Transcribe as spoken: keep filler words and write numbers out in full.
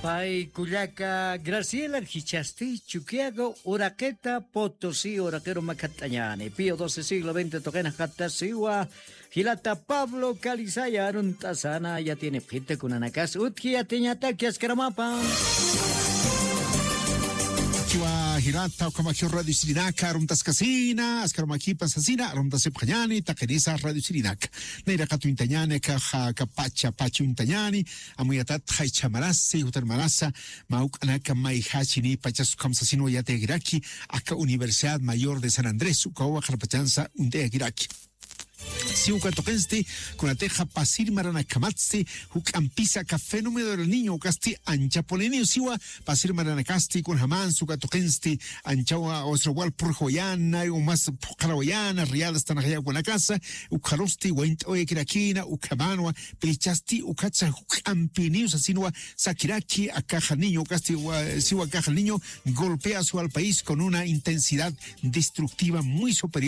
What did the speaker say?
Pay kullaka Graciela, jichhasti Chukiyago uraqita Potosí uraqiru makhatt'añäni. Pío doce siglo veinte tuqin jaqattasiwa jilata Pablo Calizaya arunt'asana yatiyinipxita kunanakas utji yatiñataki askaramapa. Chiwa jilata, ukhamakiw radio sirinaka aruntaskasina, askaramakipan sasina aruntasipxañäni, taqinisa radio sirinaka. Nayraqat uñtañäni, akaxa, aka pacha, pacha uñtañäni, amuyatat jaychha marasi, jutar marasa, mä juk'anaka mayjachini pachas ukham sasinwa yatiyakiraki, aka Universidad Mayor de San Andrés, ukawa qarpachansa uñt'ayakiraki. Si uka tuqinsti, kunatixa pasir maranakamatsti, juk'ampisa aka fenómeno del niño ukasti anchapuni niño siwa, pasir maranakasti, kunjamansa uka tuqinsti, anchawa, osra wal purjawayana, umas phuqarawayana, riadas tanaxyakunakasa, ukharusti, waynt'awayakirakina, ukhamanwa, pirichasti, ukhatsa juk'ampiniw sasinwa, sakiraki, akaxa niño ukasti, wa-, siwa akaxa niño, golpea su al país con una intensidad destructiva muy superior.